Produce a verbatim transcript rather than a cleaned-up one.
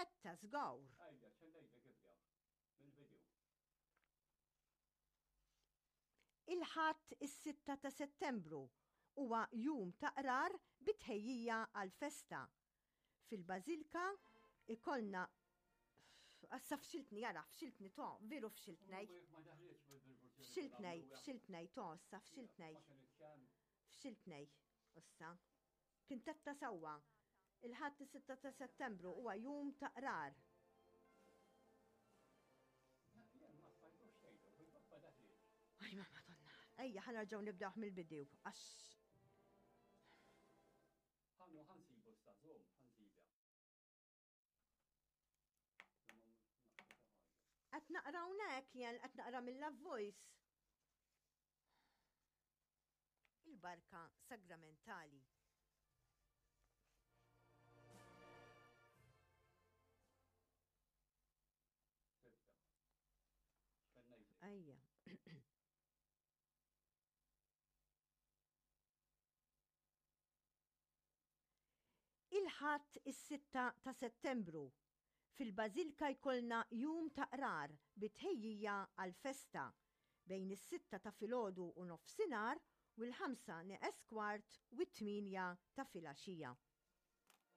Etta żgur. Ejja, x'ngħidlek, ibda. Mill-bidu. Il-Ħadd is-sitta ta' Settembru huwa jum ta' qrar bi tħejjija għall-festa. Fil-Bażilka ikollna. Assa fxiltni, jara, fxiltni to, veru fxiltnej. Fxiltnej, fxiltnej, to, issa fxiltnej. Fxiltnej, issa. Kien tetta sewwa. Il-Ħadd is-sitta ta' Settembru huwa jum ta' qrar. Jien ma stajtux tgħidu, fil-fatt ma daħlitx. Aj, ma madonna. Ejja, ħa nerġgħu nibdew mill-bidu, għax. Ħannu ħa nsibu sta, żomm, ħa nsibha. Qed naqra hawnhekk jien, qed naqra mill-Voice. Il-barka sagramentali. Tibda. X'kien ngħidlek? Ejja. Il-Ħadd is-sitta ta' Settembru, fil-Bażilka jkollna jum ta' qrar bi tħejjija għall-festa bejn is-sitta ta' filgħodu u nofsinhar u l-ħamsa neqes kwart u t-tmienja ta' filgħaxija.